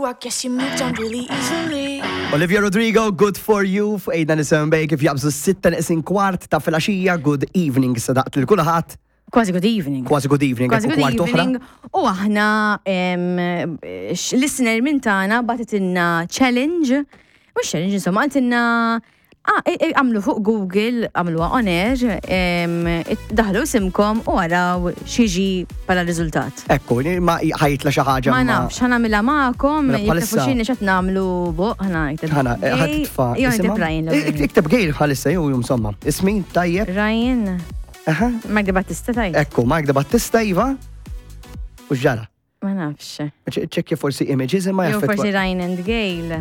I guess you moved on really easily. Olivia Rodrigo, good for you, fuq ejda nisem bej kif jabżu s-sitta neqsin kwart ta' filgħaxija, good evening sadaqt lil kulħadd. Kważi good evening. Kważi good evening. Kważi ekku good kwart oħra. evening. U aħna em, x- listener minn tagħna bagħtitilna challenge. Mhux challenge, insomma, qaltilna ah, għamlu fuq Google, għamluha on air, daħlu isimkom u għaraw xieġi pala riżultat. Ekku, ma ħajtla xi ħaġa. Ma nafx, ħana mela magħkom, Mela jekk tafu bħalissa- xini x'qed nagħmlu buq, ħana ikteb. Ħana, ħad Gay, titfa. Jew isimha? ikteb Ryan. l-ewwel. Ikteb Gail bħalissa jew insomma. Ismi tajjeb. Ryan, Aha. Mark Di Battista tajt. Ekku, Mark de Battista iva. U ġara. Ma nafx. ċekkja forsi images imma Jew jaffettwa. forsi Ryan and Gail.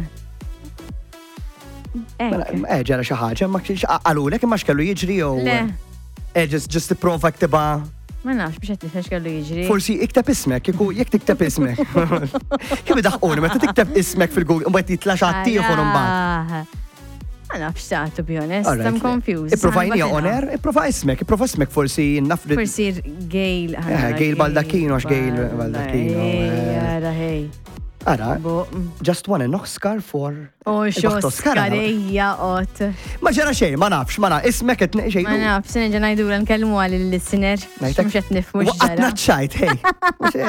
Mela, Ek. ġara xi ħaġa, ma kienx qalulek imma x'kellu jiġri jew. Le. Just tipprova ktibha. Ma nafx biex qed nifhem x'kellu jiġri. Forsi ikteb ismek, kieku jekk tikteb ismek. Kemm idaħquni meta tikteb ismek fil-Google mbagħad jitla' xi ħadd ieħor imbagħad. Ara. Ma nafx sa, to be honest, Alright, I'm le. confused. Ipprovajni Ħanbatilha. on air, ipprova ismek, ipprova ismek forsi naf li. Forsi Gail. Gail Baldacchino, għax Gail Baldacchino, eh. Ara, hej. Ara, Bo. just won an Oscar for. Oh, Il-baħt Oscar, ara. xoskarija ot. Ma ġara xejn, ma nafx, ma nafx, ismek qed xejn. Ma nafx, se nerġa' ngħidula nkellmu għal il-listener. Ngħidlek- Mhux qed nifhmu Waqatna x'ġara. ċajt, hej. Mhux hekk.